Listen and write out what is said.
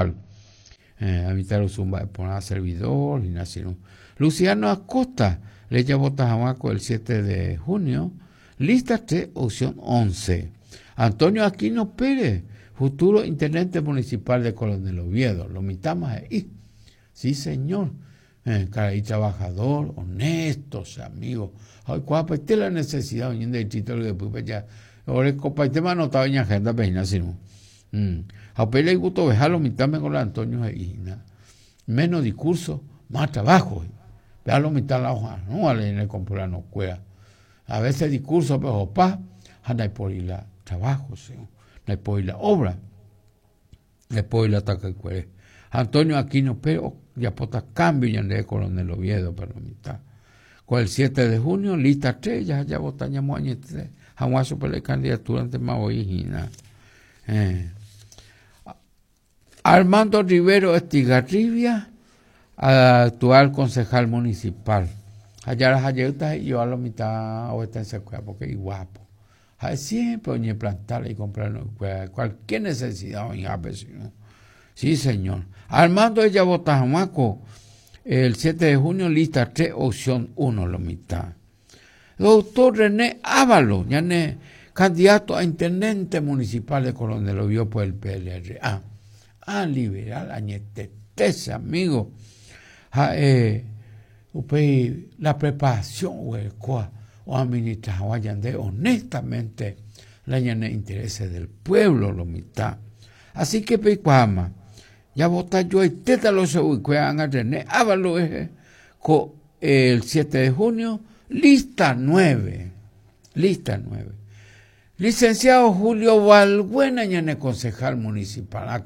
municipal. Eh, mitãrusu mba'e porã servidor hína che irũ. Luciano Acosta, rejavota hag̃ua ko el 7 de junio, lista 3, opción 11. Antonio Aquino Pérez, futuro intendente municipal de Coronel Oviedo, lo mitãma he'i. Sí, señor. Eh, karai trabajador, honesto, che amigo. Ha oikuaapaite la necesidad oĩ ñande distrito ryepýpe ja orekopaitéma anotado iñagenda-pe hína che irũ. Mm. Ha upéi la igustoveha lo mitãme ko la Antonio he'i hína. Menos discurso, más trabajo. Péa lo mitã la oha'arõva la ñane compurano-kuéra. A veces discurso-pe ohopa ha ndaipóri la trabajo, che irũ. Ndaipóri la obra. Ndaipóri la takaykuere. Ha Antonio Aquino Pérez ojapóta cambio ñande Coronel Oviedo pe lo mitã. Ko el 7 de junio, lista 3, jaha javota ñamoañete hag̃ua chupe la icandidatura ntema voi hína. Eh. Armando Rivero Estigarribia, actual concejal municipal. Ha jaraha jeýta he'iva lo mitã ovetense-kuéra porque iguapo. Ha'e siempre oñeplanta la ikompleañokuéra, cualquier necesidad oĩhápe che irũ. Sí, señor. Armando ejavota hag̃ua ko el 7 de junio lista 3 opción 1 lo mitã. Doctor René Ávalos, ñane candidato a intendente municipal de Coronel Oviedo por el PLRA. Ah, liberal añetete che amigo. Ha'e upéi la preparación oguerekóva oadministra hag̃ua ñande honestamente la ñane intereses del pueblo lo mitã. Así que peikuaáma, javota joaitéta lo chugui-kuéra ág̃a René Ávalos rehe ko el 7 de junio, lista 9, lista 9. Licenciado Julio Balbuena ñane concejal municipal.